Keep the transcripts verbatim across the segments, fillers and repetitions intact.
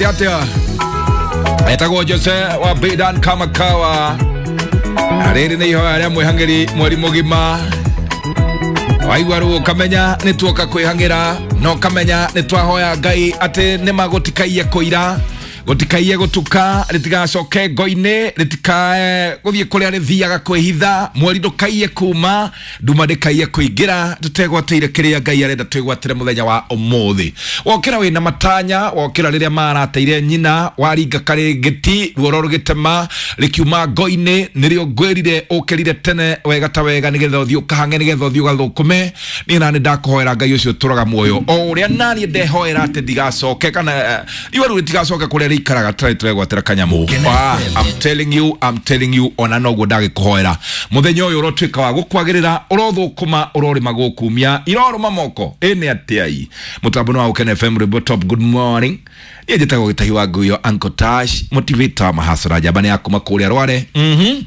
Atia etagwo Jose wa Bidan Kamakawa. Rĩrĩ nĩ ihoya rĩa mwĩhang'ĩri mweri mũgima. Waigua rĩu ũkamenya nĩ tuoka kwĩhang'ĩra, na ũkamenya nĩ twahoya Ngai atĩ nĩ magũtikaiye kũira, gũtikaiye gũtuka, rĩtigacoke ngo-inĩ, rĩtikae gũthiĩ kũrĩa rĩthiaga kwĩhitha, mweri ndũkaiye kuma, nduma ndĩkaiye kũingĩra, tũtegwatĩire kĩrĩa Ngai arenda twĩgwatĩre mũthenya wa ũmũthĩ. Wokĩra wĩna matanya, wokĩra rĩrĩa marateire nyina, waringa karĩngĩti, ruoro rũgĩtema, rĩkiuma ngo-inĩ, nĩrĩo ngwĩrire ũkĩrire tene wega ta wega nĩgetha ũthiĩ ũkahange, nĩgetha ũthiĩ ũgathũkũme. Niĩ nani ndakũhoera Ngai ũcio ũtũraga muoyo, o ũrĩa naniĩ ndehoera atĩ ndigacoke kana iwe rĩu rĩtigacoke kũrĩa rĩikaraga tũrĩ tũregwatĩra kanyamũ. Ah, I'm telling you, I'm telling you, ona noguo ndagĩkũhoera mũthenya ũyũ ũrotuĩka wa gũkwagĩrĩra, ũrothũkũma, ũrorĩma gũkumia, irorũma moko. Ĩ nĩ atĩai mũtambo wa Gũkena F M Rwĩmbo Top. Good morning. Niĩ njĩtagwo Gĩtahi wa Nguyo, Uncle Tash, motivator mahasara njamba nĩ ya kuma kũrĩa Rware. Mhm.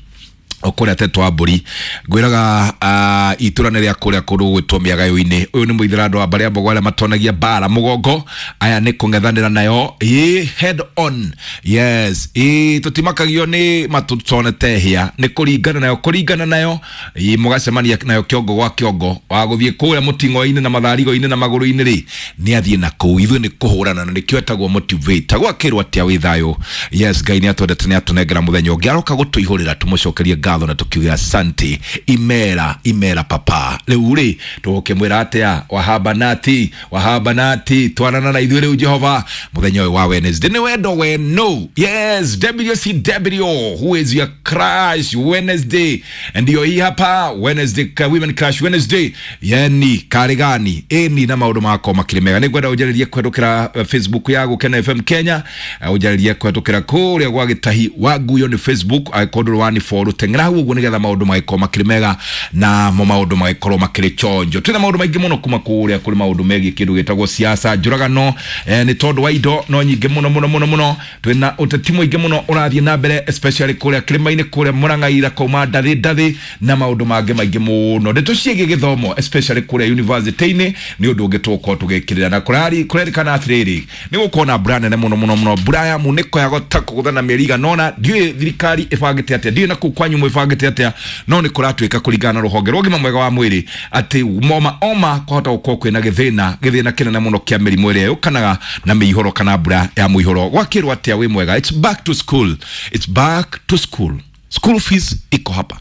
O kũrĩa tetwa wa mbũri ngwĩraga, uh, itũra nĩ rĩa kũrĩa kũndũ gũgwĩtwo mĩagayo-inĩ. Ũyũ nĩ mũithĩra andũ a mbarĩ ya Mbogo arĩa matonagia mbara mũgongo, aya nĩ kũng'ethanĩra nayo ĩ head on. Yes, ĩ tũtimakagio nĩ matũtonete hĩa, nĩ kũringana nayo, kũringana nayo ĩ mũgacemania nayo kĩongo gwa kĩongo, wa gũthiĩ kũrĩa mũting'oinĩ na matharigo-inĩ na magũrũ-inĩ rĩ, nĩ athiĩ na kũu. Ithuĩ nĩ kũhũrana na nĩkĩo etagwo motivator. Gwakĩrwo atĩa wĩ thayũ? Yes, Ngai nĩ atwendete, nĩ atũnengera mũthenya ũngĩ, aroka gũtũihũrĩra tũmũcokerie ngatho na tukiuga asante, imera imera papa. Rĩu rĩ tũgũkĩmwĩra atĩa? Wahabanati wahabanati, twarana na ithuĩ rĩu Jehova mũthenya ũyũ wa Wednesday. Nĩ wendo wenu. Yes, W C W, who is your crush Wednesday? Ndio hii hapa Wednesday, Women Crush Wednesday. Yani karigani eni na maũndũ makwa makĩrĩ mega. Nĩngwenda ũnjarĩrie kũhetũkĩra Facebook ya Gũkena F M Kenya, ũnjarĩrie kũhetũkĩra kũrĩa gwa Gĩtahi wa Nguyo nĩ Facebook, angĩkorwo ndũrĩ wani follow teng'era hau ũguo nĩgetha maũndũ magĩkorwo makĩrĩ mega na mo maũndũ magĩkorwo makĩrĩ chonjo. Twĩna maũndũ maingĩ mũno kuma kũrĩa kũrĩ maũndũ megiĩ kĩndũ gĩtagwo siasa, njũragano, eh, nĩ tondũ wa indo no nyingĩ mũno mũno mũno mũno. Twĩna ũteti mũingĩ mũno ũrathiĩ na mbere, especially kũrĩa kĩrĩma-inĩ, kũrĩa Mũrang'a, Kauma, Ndathi Ndathi na maũndũ mangĩ maingĩ mũno. Ndeto ciĩgiĩ gĩthomo especially kũrĩa university-inĩ nĩ ũndũ ũngĩ tũgũkorwo tũgĩkĩrĩra, na kũrari kũrerĩkana atĩrĩrĩ nĩ gũkorwo na mbura nene mũno mũno mũno, mbura ya munĩko ya gota kũgũthana mĩeri igana ũna. Ndiũĩ thirikari ĩbangĩte atĩa, ndiũĩ na kũu kwanyu mwĩbangĩte atĩa, no nĩ kũratuĩka kũringana na rũhonge rwa ũgima mwega wa mwĩrĩ atĩ moma oma kwahota gũkorwo kwĩna gĩthĩna gĩthĩna kĩnene mũno kĩa mĩrimũ ĩrĩa yũkanaga na mĩihũro kana mbura ya mũihũro. Gwakĩrwo atĩa wĩ mwega? It's back to school, it's back to school. School fees iko hapa,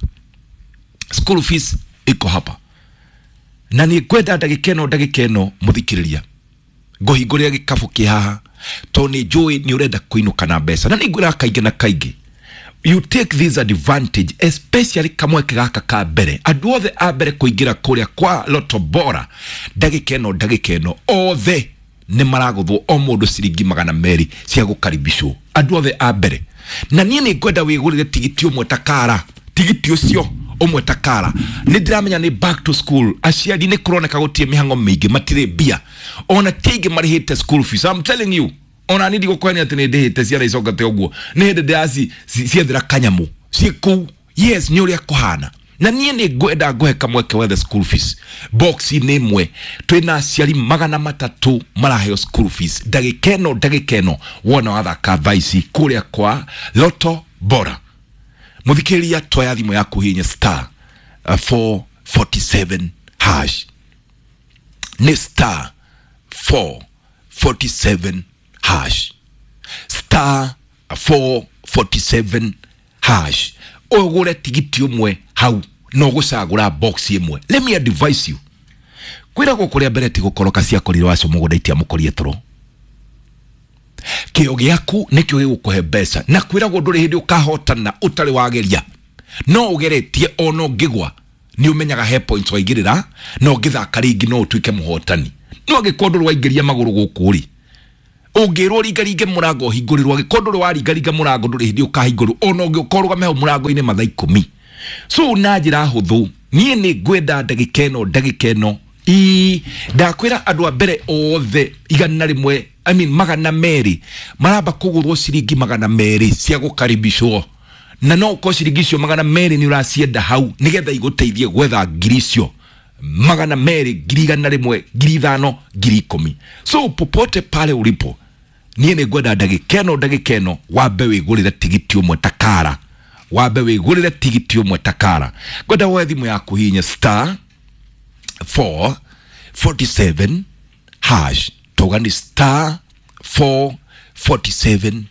school fees iko hapa, na nĩ ngwenda ndagĩka ĩno ndagĩka ĩno mũthikĩrĩria ngũhingũrĩra gĩkabũ kĩ haha, tondũ nĩ njũĩ nĩ ũrenda kũinũka na mbeca, na nĩ ngwĩraga kaingĩ na kaingĩ you take this advantage, especially kamweke gaka ka mbere, andũ othe a mbere kũingĩra kũrĩa kwa Lotto Bora ndagĩka ĩno ndagĩka ĩno othe nĩ maragũthwo o mũndũ ciringi magana merĩ cia gũkaribicwo, andũ othe a mbere. Na niĩ nĩ ngwenda wĩgũrĩre tigiti ũmwe ta kara, tigiti ũcio ũmwe ta kara. Nĩ ndĩramenya nĩ back to school, aciari nĩ kũroneka gũtirĩ mĩhang'o mĩingĩ, matirĩ mbia, ona ti aingĩ marĩhĩte school fees. I'm telling you, ona niĩ ndigũkwania atĩ nĩ ndĩhĩte ciana icokete ũguo, nĩ hĩndĩ ndĩraci ciethera kanyamũ ciĩ kũu. Yes, nĩ ũrĩa kũhana. Na niĩ nĩ ngwenda ngũhe kamweke wethe school fees box nĩ ĩmwe. Twĩna aciari magana matatũ maraheo school fees ndagĩka ĩno ndagĩka ĩno wona wathaka thaa ici kũrĩa kwa Lotto Bora. Mũthikĩrĩria, twoya thimũ yaku hihinya star four forty seven hash, nĩ star four forty seven hash, star four forty seven hash, ũgũre tigiti ũmwe hau na ũgũcagũra box ĩmwe. Let me advise you, kwĩragwo kũrĩa mbere ti gũkoroka ciakorirwo acio mũgũnda itiamũkorie toro. Kĩo gĩaku nĩkĩo gĩgũkũhe mbeca, na kwĩragwo ndũrĩ hĩndĩ ũkahotana ũtarĩ wageria, no ũgeretie ona ũngĩgwa nĩ ũmenyaga he points waigĩrĩra, na ũngĩthaka rĩngĩ no ũtuĩke mũhotani. No angĩkorwo ndũrĩ waingĩria magũrũ gũkũ rĩ, ũngĩrwo ringaringe mũrango ũhingũrĩrwo, angĩkorwo ndũrĩ waringaringa mũrango ndũrĩ hĩndĩ ũkahingũrwo, ona ũngĩũka ũrũgame hau mũrango-inĩ mathaa ikũmi. So na njĩra hũthũ, niĩ nĩ ngwenda ndagĩka ĩno ndagĩka ĩno ii ndakwĩra andũ a mbere othe igana rĩmwe, I mean magana merĩ maramba kũgũrwo ciringi magana merĩ cia gũkaribicwo, na no ũkorwo ciringi icio magana merĩ nĩ ũracienda hau nĩgetha igũteithie gwetha ngiri icio magana merĩ, ngiri igana rĩmwe, ngiri ithano, ngiri ikũmi. So popote pale ulipo, Niĩ nĩ ngwenda ndagĩka ĩno ndagĩka ĩno wambe wĩgũrĩre tigiti ũmwe takara, wambe wĩgũrĩre tigiti ũmwe takara. Ngwenda woe thimũ yaku hihinya star four forty-seven hash, tauga nĩ star four forty-seven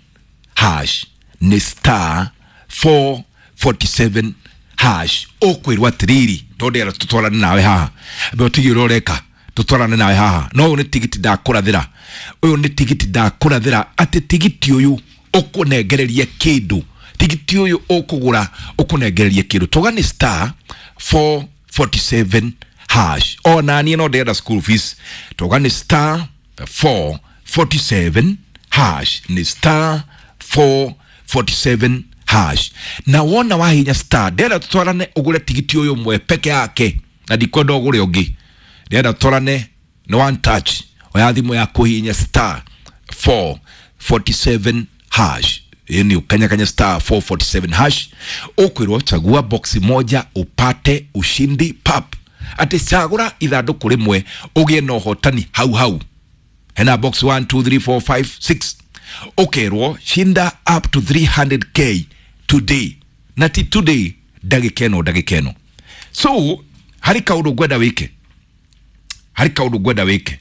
hash, nĩ star four forty-seven hash. Ũkwĩrwo atĩrĩrĩ, tondũ ndĩrenda tũtwarane nawe haha, mbe ũtige ũrĩa ũreka, tũtwarane nawe haha. No ũyũ nĩ tigiti ndakũrathĩra, ũyũ nĩ tigiti ndakũrathĩra, atĩ tigiti ũyũ ũkũnengereria kĩndũ, tigiti ũyũ ũkũgũra ũkũnengereria kĩndũ. Tauga nĩ star four forty-seven hash. Ona niĩ no ndĩrenda school fees, tauga nĩ star four forty-seven hash, nĩ star four forty-seven hash. Na wona wahinya star, ndĩrenda tũtwarane ũgũre tigiti ũyũ ũmwe peke yake, na ndikwenda ũgũre ũngĩ. Ndĩrenda tũtwarane nĩ one touch, oya thimũ yaku hihinya star four forty-seven hash. Yaani ukanyakanya star four forty-seven hash, ukwirwo chagua box moja upate ushindi pap. Ati chagura ithandũkũ rĩmwe ũgĩe na ũhotani hau hau. Hena box one two three four five six. Ukerwo shinda up to three hundred k today. Na ti today ndagĩka ĩno ndagĩka ĩno. So harĩ kaũndũ ngwenda wĩke, harĩ kaũndũ ngwenda wĩke,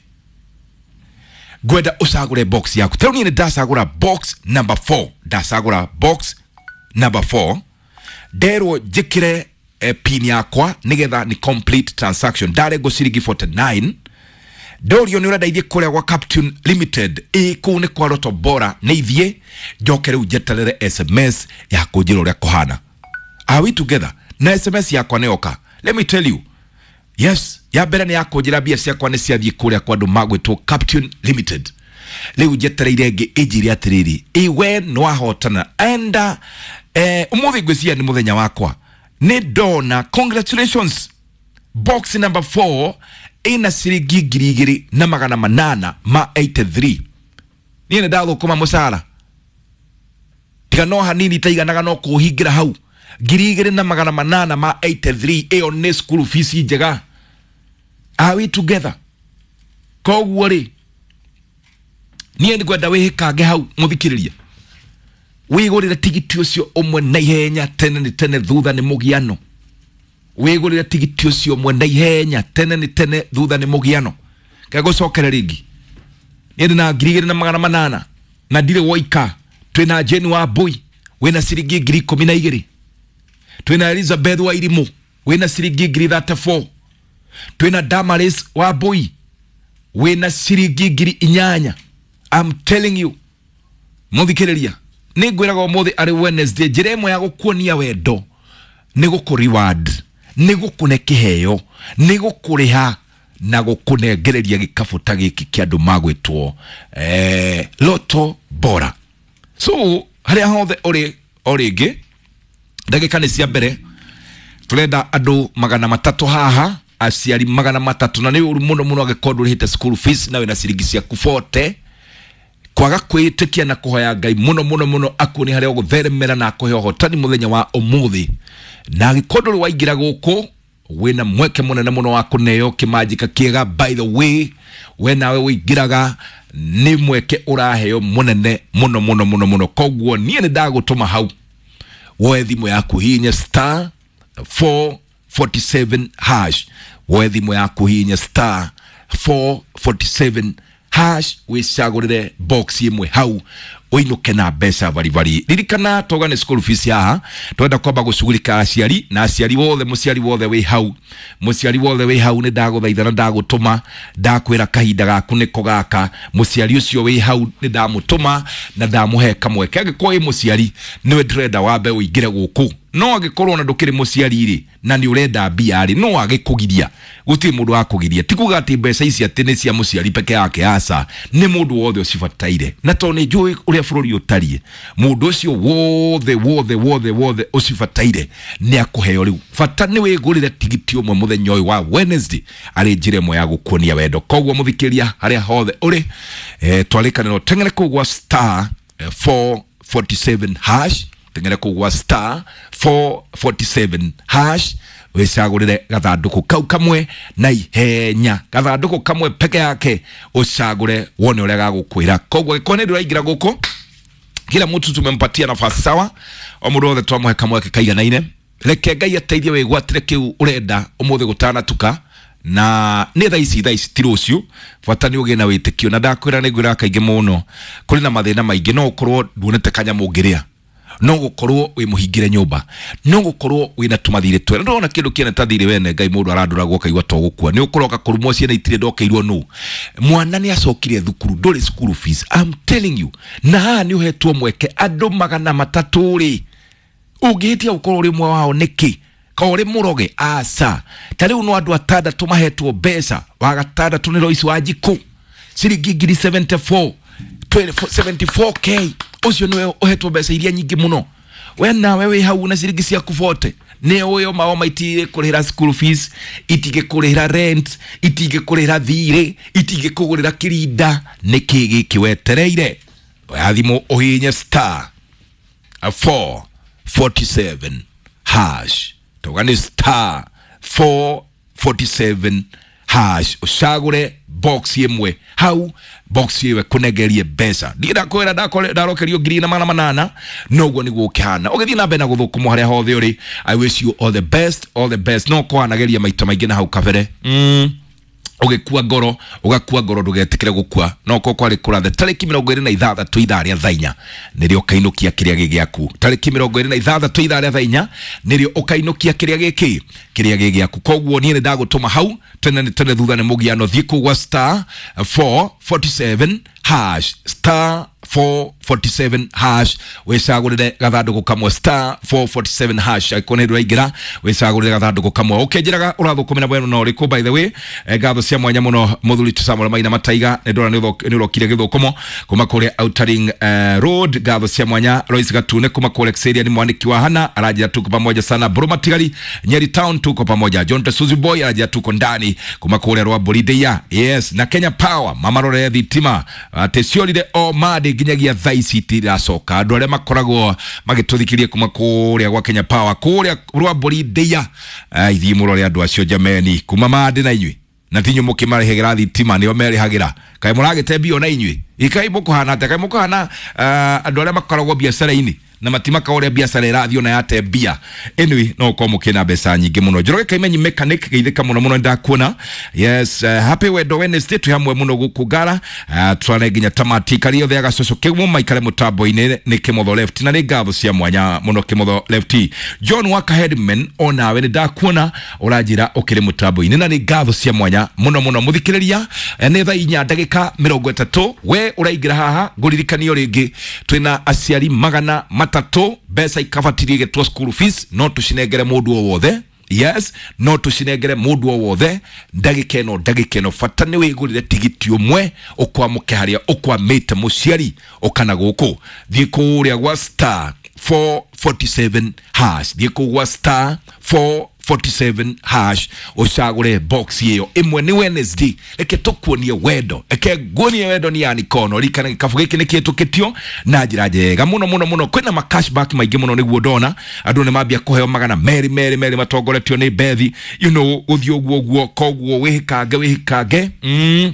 ngwenda ũcagũre box yaku. Tarĩu niĩ nĩ ndacagũra box number four, ndacagũra box number four, nderwo njĩkĩre eh, pin yakwa nĩgetha ni complete transaction. Ndarengwo ciringi forty-nine. Ndorio nĩ ũrenda ithiĩ kũrĩa gwa Captain Limited, ĩ kũu nĩ kwa Lotto Bora, nĩ ithiĩ njoke rĩu njeterere S M S ya kũnjĩra ũrĩa kũhana. Are we together? Na S M S yakwa nĩ yoka. Let me tell you. Yes, ya mbere nĩ ya kũnjĩra mbia ciakwa nĩ ciathiĩ kũrĩa kwa andũ magwĩtwo Captain Limited. Rĩu njetereire ĩngĩ ĩnjĩre atĩrĩrĩ, ĩ we nĩ wahotana. Enda eh, ũmũthĩ ngwĩciria nĩ mũthenya wakwa. Nĩ ndona congratulations, box number four ĩna ciringi ngiri igĩrĩ na magana manana ma eighty-three. Niĩ nĩ ndathũkũma mũcara tiga no hanini itaiganaga no kũhingĩra hau. Ngiri igĩrĩ na magana manana ma eighty-three, ĩyo nĩ school fees njega. Are we together? Koguo rĩ, niĩ nĩngwenda wĩhĩkange hau mũthikĩrĩria, wĩgũrĩre tigiti ũcio ũmwe na ihenya, tene nĩ tene thutha nĩ mũgiano. Wĩgũrĩre tigiti ũcio ũmwe na ihenya, tene nĩ tene thutha nĩ mũgiano. Ngegũcokere rĩngĩ, niĩ ndĩna ngiri igĩrĩ na magana manana na ndirĩ woika. Twĩna Jane wa Mbui wĩna ciringi ngiri ikũmi na igĩrĩ, twĩna Elizabeth wa Irimũ wĩna ciringi ngiri thirty-four, twĩna Damaris wa Mbui wĩna ciringi ngiri inyanya. I'm telling you mũthikĩrĩria, nĩ ngwĩraga ũmũthĩ arĩ Wednesday, njĩra ĩmwe ya gũkuonia wendo nĩ gũkũ reward, nĩ gũkũne kĩheo, nĩ gũkũrĩha na gũkũnengereria gĩkabũ ta gĩkĩ kĩa andũ magwĩtwo eh, Lotto Bora. So harĩa hothe ũrĩ, o rĩngĩ ndagĩka nĩ cia mbere, tũrenda andũ magana matatũ haha, aciari magana matatũ, na nĩ ũru mũno mũno angĩkorwo ndũrĩhĩte school fees na wĩna ciringi ciaku forty. Kwaga kwĩĩtĩkia na kũhoya Ngai mũno mũno mũno akuonie harĩa ũgũtheremera na akũhe ũhotani mũthenya wa ũmũthĩ. Na angĩkorwo ndũrĩ waingĩra gũkũ, wĩna mweke mũnene mũno wa kũneo kĩmanjĩka kĩega. By the way, we nawe wĩingĩraga nĩ mweke ũraheo mũnene mũno mũno mũno mũno. Koguo niĩ nĩ ndagũtũma hau woe thimũ yaku hihinya star four forty-seven hash, woe thimũ yaku hihinya star four forty-seven hash, wĩcagũrĩre box ĩmwe hau ũinũke na mbeca baribari. Ririkana toga nĩ school fees haha, twenda kwamba gũcugurika aciari na aciari wothe, mũciari wothe wĩ hau, mũciari wothe wĩ hau nĩ ndagũthaitha na ndagũtũma, ndakwĩra kahinda gaku nĩko gaka. Mũciari ũcio wĩ hau nĩ ndamũtũma na ndamũhe kamweke. Angĩkorwo wĩ mũciari nĩwe ndĩrenda wambe ũingĩre gũkũ, no angĩkorwo ona ndũkĩrĩ mũciari rĩ na nĩ ũrenda mbia rĩ, no agĩkũgiria, gũtirĩ mũndũ wa kũgiria. Ti kuga atĩ mbeca ici atĩ nĩ cia mũciari peke yake, aca, nĩ mũndũ wothe ũcibataire. Na tondũ nĩ njũĩ ũrĩa bũrũri ũtariĩ, mũndũ ũcio wothe wothe wothe wothe ũcibataire nĩ akũheo rĩu. Bata nĩ wĩgũrĩre tigiti ũmwe mũthenya ũyũ wa Wednesday, arĩ njĩra ĩmwe ya gũkuonia wendo. Koguo mũthikĩria harĩa hothe ũrĩ, eh, twarĩkanĩrwo teng'ere kũu gwa star four forty-seven hash, teng'ere kũu gwa star four forty-seven hash, Wicagurire gathanduku kau kamwe na ihenya, gathanduku kamwe peke yake ucagure wone uria gagukwira. Koguo gĩkorwo nĩ ndũraingĩra gũkũ, kila mtu tumempatia nafasi sawa, o mũndũ wothe twamũhe kamweke kaiganaine. Reke Ngai ateithie wĩgwatĩre kĩu ũrenda ũmũthĩ gũtanatuka, na nĩ thaa ici, thaa ici ti rũciũ. Bata nĩ ũgĩe na wĩtĩkio, na ndakwĩra nĩ ngwĩraga kaingĩ mũno, kũrĩ na mathĩna maingĩ, no ũkorwo nduonete kanyamũ ũngĩrĩa, no gũkorwo wĩ mũhingĩre nyũmba, no gũkorwo wĩna tũmathirĩ twega. Ndũrona kĩndũ kĩene ta thirĩ wene Ngai mũndũ arandũragwo kaigua to gũkua, nĩ ũkũroka kũrumwo ciana itirĩ ndokeirwo nũ, mwana nĩ acokire thukuru, ndũrĩ school fees, I'm telling you. Na haha nĩ ũhetwo mweke andũ magana matatũ rĩ, ũngĩhĩtia gũkorwo ũrĩ ũmwe wao nĩkĩ? Ka ũrĩ mũroge? Aca. Ta rĩu no andũ atandatũ mahetwo mbeca. Wa gatandatũ nĩ Lois Wanjikũ, ciringi ngiri seventy-four, seventy-four K. Ũcio nĩwe ũhetwo mbeca iria nyingĩ mũno. We nawe wĩ hau na ciringi ciaku forty, nĩ ũyũ mao maitigĩkũrĩhĩra school fees, itingĩkũrĩhĩra rent, itingĩkũrĩhĩra thirĩ, itingĩkũgũrĩra kĩrinda. Nĩkĩ gĩkĩ wetereire? Oya thimũ ũhihinye star four forty-seven hash, tauga nĩ star four forty-seven hash, ũcagũre box ĩmwe hau, box ĩyo ĩkũnengerie mbeca. Niĩ ndakwĩra ndarokerio ngiri na magana manana, noguo nĩguo ũkĩhana. Ũgĩthiĩ na mbere na gũthũkũmwo harĩa hothe ũrĩ, I wish you all the best, all the best. No kwanageria maita maingĩ na hau kabere, mm. Ũgĩkua ngoro, ũgakua ngoro, ndũgetĩkĩre gũkua. No ko kwarĩ kũrathe tarĩki mĩrongo ĩrĩ na ithathatũ ithaa rĩa thaa inya nĩrĩo ũkainũkia kĩrĩa gĩ gĩaku. Tarĩki mĩrongo ĩrĩ na ithathatũ ithaa rĩa thaa inya nĩrĩo ũkainũkia kĩrĩa gĩkĩ, kĩrĩa gĩ gĩaku. Koguo niĩ nĩ ndagũtũma hau tene nĩ tene, thutha nĩ mũgiano. Thiĩ kũu gwa star four forty-seven hash, star four forty-seven hash, wĩcagũrĩre gathandũkũ kamwe, star four forty-seven hash. Angĩkorwo nĩ ndũraingĩra, wĩcagũrĩre gathandũkũ kamwe. Ũkĩnjĩraga ũrathũkũmĩra mwena na ũrĩkũ? By the way, ngatho cia mwanya mũno mũthuri ti Samuel Maina Mataiga, nĩ ndona nĩ ũrokire gĩthũkũmo kuma kũrĩa Outer Ring Road. Ngatho cia mwanya Lois Gatune kuma kũrĩa Xeria, nĩ mwandĩki wa Hana, aranjĩra tuko pamoja sana. Buruma Tigari Nyeri Town tuko pamoja. John Tesuzi Boy aranjĩra tuko ndani kuma kũrĩa Rwambũri. Yes, na Kenya Power mamarore thitima atĩ ciorire o madi nginyagia thaa ici itiracoka. Andũ arĩa makoragwo magĩtũthikirie kuma kũrĩa gwa Kenya Power kũrĩa Rwambũri Ndĩa, ithiĩ mũrore andũ acio jameni, kuma mandi na inyuĩ na tinyu mũkĩmarĩhagĩra thitima, nĩo merĩhagĩra. Kaĩ mũragĩte mbia ona inyuĩ? Ikai mũkũhana atĩa? Kaĩ mũkũhana andũ arĩa makoragwo biacara-inĩ na matimaka ũrĩa biacara ĩrathiĩ ona yate mbia? Anyway, no ũkorwo mũkĩna mbeca nyingĩ mũno. Njoroge Kaimenyi mechanic, geithĩka mũno mũno, ndakuona. Yes, uh, happy Wendo Wednesday, twĩ hamwe mũno gũkũ Ngara, uh, twarane nginya tamati. Kari othe agacoco kĩgumo maikare mũtambo-inĩ nĩ Kĩmotho Left, na nĩ ngatho cia mwanya mũno Kĩmotho Left. John Waka Headman, onawe nĩ ndakuona ũranjĩra ũkĩrĩ mũtambo-inĩ, na nĩ ngatho cia mwanya mũno mũno. Mũthikĩrĩria, nĩ thaa inya ndagĩka mĩrongo ĩtatũ, we ũraingĩra haha ngũririkanio rĩngĩ twĩna aciari magana matatũ, mbeca ikabatirie gĩtwo school fees, no tũcinengere mũndũ o wothe. Yes, no tũcinengere mũndũ o wothe ndagĩka ĩno, ndagĩka ĩno. Bata nĩ wĩgũrĩre tigiti ũmwe ũkwamũke harĩa ũkwamĩte mũciari ũkana gũkũ. Thiĩ kũrĩa gwa star four forty-seven hash, thiĩ kũu gwa star four forty-seven hash, ũcagũre box ĩyo ĩmwe. Nĩ Wednesday, reke tũkuonie wendo, reke nguonie wendo ni yani kono rikana. Gĩkabu gĩkĩ nĩ kĩhĩtũkĩtio na njĩra njega mũno mũno mũno. Kwĩna ma cashback maingĩ mũno, nĩguo ndona andũ nĩ mambia kũheo magana merĩ merĩ merĩ matongoretio nĩ Bethi, you know, gũthiĩ ũguo ũguo. Koguo wĩhĩkange, wĩhĩkange, mm.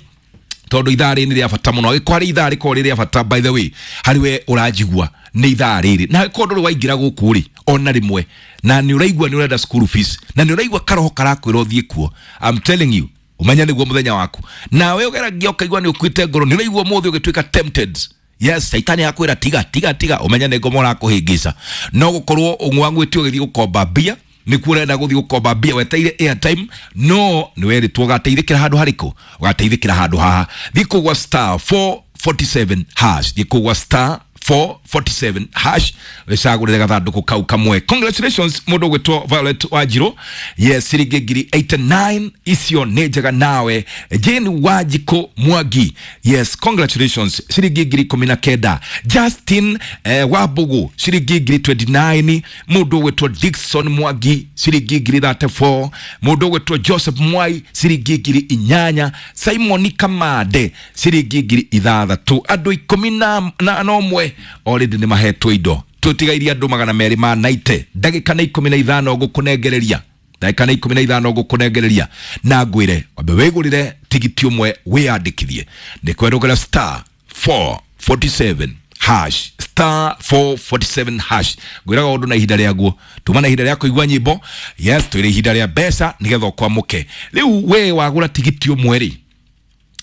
tondũ ithaa rĩrĩ nĩ rĩa bata mũno. Angĩkorwo harĩ ithaa rĩkorwo rĩ rĩa bata, by the way, harĩ we ũranjigua nĩ ithaa rĩrĩ, na angĩkorwo ndũrĩ waingĩra gũkũ rĩ ona rĩmwe, na nĩ ũraigua nĩ ũrenda school fees, na nĩ ũraigua karoho karakwĩra ũthiĩ kuo, I'm telling you, ũmenye nĩguo mũthenya waku. Nawe ũgeragia ũkaigua nĩ ũkuĩte ngoro, nĩ ũraigua ũmũthĩ ũgĩtuĩka tempted, yes, caitani akwĩra tiga tiga tiga, ũmenye nĩ ngoma ũrakũhĩngĩca. No gũkorwo ũng'wang'wĩte ũgĩthiĩ gũkomba mbia, nĩkuo ũrenda gũthiĩ gũkomba mbia weteire airtime, no nĩ werĩtwo ũgateithĩkĩra handũ harĩkũ? Ũgateithĩkĩra handũ haha. Thiĩ kũu gwa star four forty-seven hash, thiĩ kũu gwa star four forty-seven hash, wĩcagũrĩre gathandũkũ kau kamwe. Congratulations mũndũ ũgwĩtwo Violet Wanjirũ, yes, ciringi ngiri eighty-nine icio nĩ njega. Nawe Jane Wanjikũ Mwangi, yes, congratulations, ciringi ngiri ikũmi na kenda. Justin eh, Wambugu ciringi ngiri twenty-nine. Mũndũ ũgwĩtwo Dickson Mwangi ciringi ngiri thirty-four. Mũndũ ũgwĩtwo Joseph Mwai ciringi ngiri inyanya. Simon Kamande ciringi ngiri ithathatũ. Andũ ikũmi na na ũmwe already nĩ mahetwo indo, tũtigairie andũ magana merĩ ma naite, ndagĩka nĩ ikũmi na ithano ngũkũnengereria. Ndagĩka nĩ ikũmi na ithano ngũkũnengereria na ngwĩre wambe wĩgũrĩre tigiti ũmwe wĩyandĩkithie. Nĩ kwerũgĩra star four forty-seven hash, star four forty-seven hash. Ngwĩraga ũndũ na ihinda rĩaguo, tuma na ihinda rĩa kũigua nyĩmbo. Yes, twĩrĩ ihinda rĩa mbeca nĩgetha ũkwamũke. Rĩu we wagũra tigiti ũmwe rĩ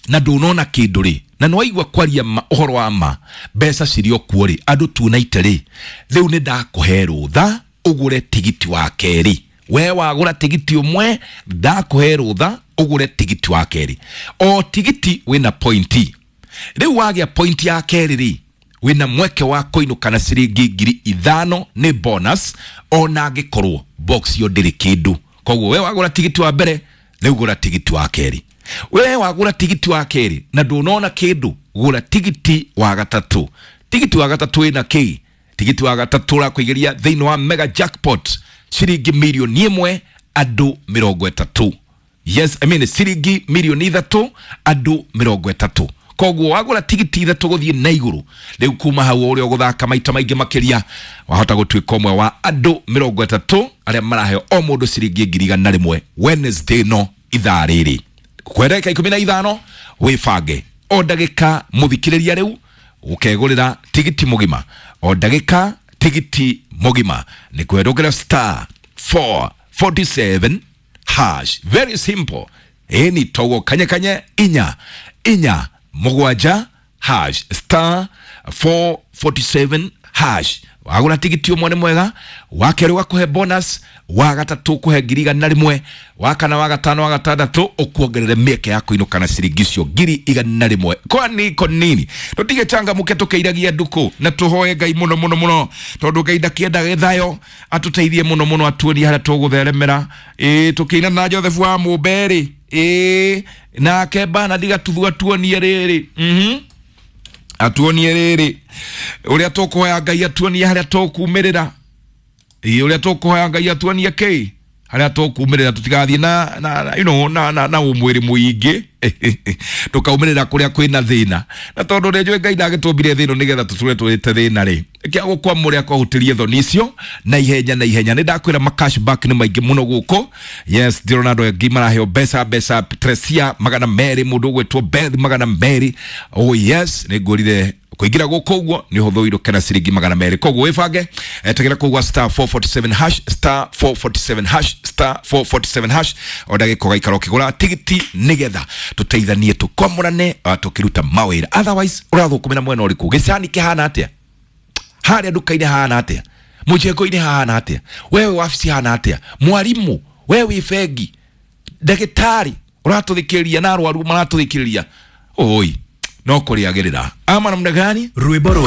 na ndũnona kĩndũ rĩ, na nĩwaigua kwaria ma, ũhoro wa ma mbeca cirĩ o kuo rĩ, andũ tuonaite rĩ, rĩu nĩ ndakũhe rũtha ũgũre tigiti wa kerĩ. We wagũra tigiti ũmwe, ndakũhe rũtha ũgũre tigiti wa kerĩ. O tigiti wĩna pointi. Rĩu wagĩa pointi ya kerĩ rĩ, wĩna mweke wa kũinũka na ciringi ngiri ithano nĩ bonus, ona angĩkorwo box ĩyo ndĩrĩ kĩndũ. Koguo we wagũra tigiti wa mbere, rĩu gũra tigiti wa kerĩ. We wagũra tigiti wa kerĩ na ndũnona kĩndũ, gũra tigiti wa gatatũ. Tigiti wa gatatũ ĩna kĩ? Tigiti wa gatatũ ũrakũigĩria thĩinĩ wa mega jackpot ciringi mirioni ĩmwe andũ mĩrongo ĩtatũ. Yes, I mean ciringi mirioni ithatũ andũ mĩrongo ĩtatũ. Koguo wagũra tigiti ithatũ gũthiĩ na igũrũ, rĩu kuma hau ũrĩa ũgũthaka maita maingĩ makĩria, wahota gũtuĩka ũmwe wa andũ mĩrongo ĩtatũ arĩa maraheo o mũndũ ciringi ngiri igana rĩmwe Wednesday no ithaa rĩrĩ. Kwa ndagĩka ikũmi na ithano wĩbange o ndagĩka mũthikĩrĩria rĩu ũkegũrĩra tigiti mũgima, o ndagĩka tigiti mũgima nĩ kwerũgĩra star four forty-seven hash. Very simple. Ĩni togo kanye kanye inya inya mũgwanja hash, star four forty-seven hash. Wagũra tigiti ũmwe nĩ mwega, wa kerĩ ũgakũhe bonus, wa gatatũ ũkũhe ngiri igana rĩmwe, wa kana, wa gatano, wa gatandatũ ũkuongerere mĩeke ya kũinũka na ciringi icio ngiri igana rĩmwe. Kwani ko nini? Tũtige changamuke tũkĩiragia ndukũ na tũhoe Ngai mũno mũno mũno, tondũ Ngai ndakĩenda gĩthayo, atũteithie mũno mũno, atuonie harĩa tũgũtheremera. Ĩĩ, tũkĩina na Joseph wa Mũmbe rĩ, ĩĩ, nake Bernard Gatuthu atuonie rĩrĩ, mhm, atuonie rĩrĩ ũrĩa tũkũhoya Ngai atuonie harĩa tũkumĩrĩra. Ĩĩ, ũrĩa tũkũhoya Ngai atuonie kĩ harĩa tũkumĩrĩra, tũtigathiĩ na, na, na, you know, na, na, na ũmwĩrĩ mũingĩ tũkaumĩrĩra kũrĩa kwĩna thĩna. Na tondũ nĩ njũĩ Ngai ndagĩtũmbire thĩ ĩno nĩgetha tũtũre tũrĩte thĩna rĩ, kĩa gũkwamũrĩa kwahutĩrie thoni icio na ihenya na ihenya. Nĩ ndakwĩra ma cashback nĩ maingĩ mũno gũkũ. Yes, ndĩrona andũ aingĩ maraheo mbeca mbeca, Tresia magana merĩ, mũndũ ũgwĩtwo Beth magana merĩ. Oh yes, nĩ ngũrire kũingĩra gũkũ ũguo nĩ ũhũthũ ũinũke na ciringi magana merĩ. Koguo wĩbange, etegera kũu gwa star four forty-seven hash, star four forty-seven hash, star four forty-seven hash. O ndagĩka ũgaikara ũkĩgũra tigiti nĩgetha tũteithanie tũkwamũrane tũkĩruta mawĩra. Otherwise ũrathũkũmĩra mwena ũrĩkũ? Gĩcani kĩhana atĩa? Harĩa nduka-inĩ hahana atĩa? Mũjengo-inĩ hahana atĩa? Wewe wabici hahana atĩa? Mwarimũ, wewe wĩ bengi, ndagĩtarĩ ũratũthikĩrĩria na arwaru maratũthikĩrĩria, oi no kũrĩagĩrĩra ama namna gani? Rwĩmbo rwega.